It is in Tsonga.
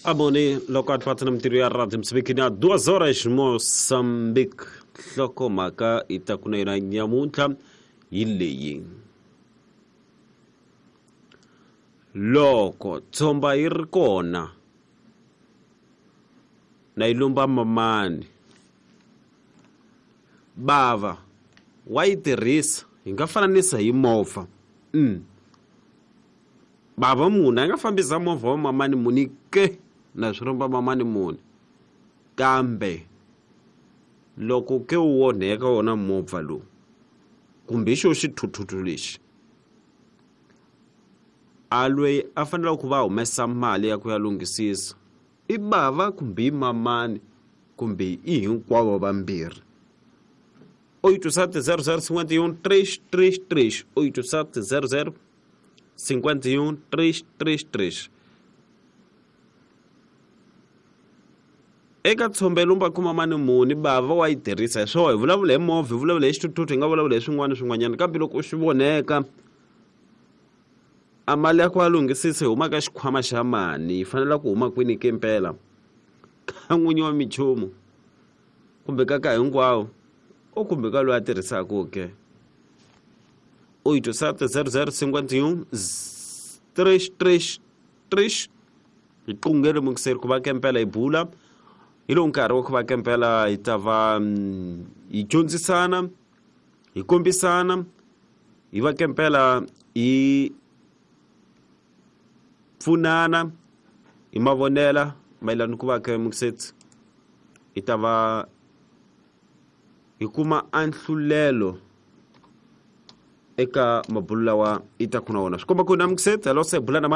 Amoni loko a twa na mintirho ya radio Mozambique na 2 horas Mozambique. Nhlokomhaka yi ta ku na yona nyamuntlha hi leyi. Loko tshomba yi ri kona na yi lomba mamani bava wa yi tirhisa hi nga fananisa hi movha. Bava munhu a nga fambisa movha wa mamani muni ke na swi lomba mamani muni, kambe loko ke wu onheka wona movha lowu kumbe xo xithuthuthu lexi, a loyi a faneleke ku va humesa mali ya ku ya lunghisisa i bava kumbe i mamani kumbe i hinkwavo vambirhi. 87 00 51 333 87 00 51 333. Eka tshombe lumba kuma mani muni bava wa yi tirhisa hi swona, hi vulavula hi movha, hi vulavula hi xithuthuthu, hi nga vulavula hi swin'wana swin'wanyana, kambe loko swi voneka a mali ya ku a lunghisisa yi huma ka xikhwama xa mani, yi fanele ku huma kwini ke mpela, ka n'winyi wa minchumu kumbe ka ka hinkwawo o kumbe ka loyi a tirhisaka ke. 87 00 51 333 hi qungele mukiseri ku va kempela hi bula hi lowu nkarhi wa ku va kempela hi ta va hi dyondzisana, hi kombisana, hi va kempela hi pfunana hi mavonela mayelana ku va ke mukiseti hi ta va hi kuma anhlulelo eka mabulu lawa i ta ku na wona. Swi komba ku na mukiseti hello se bula na mani.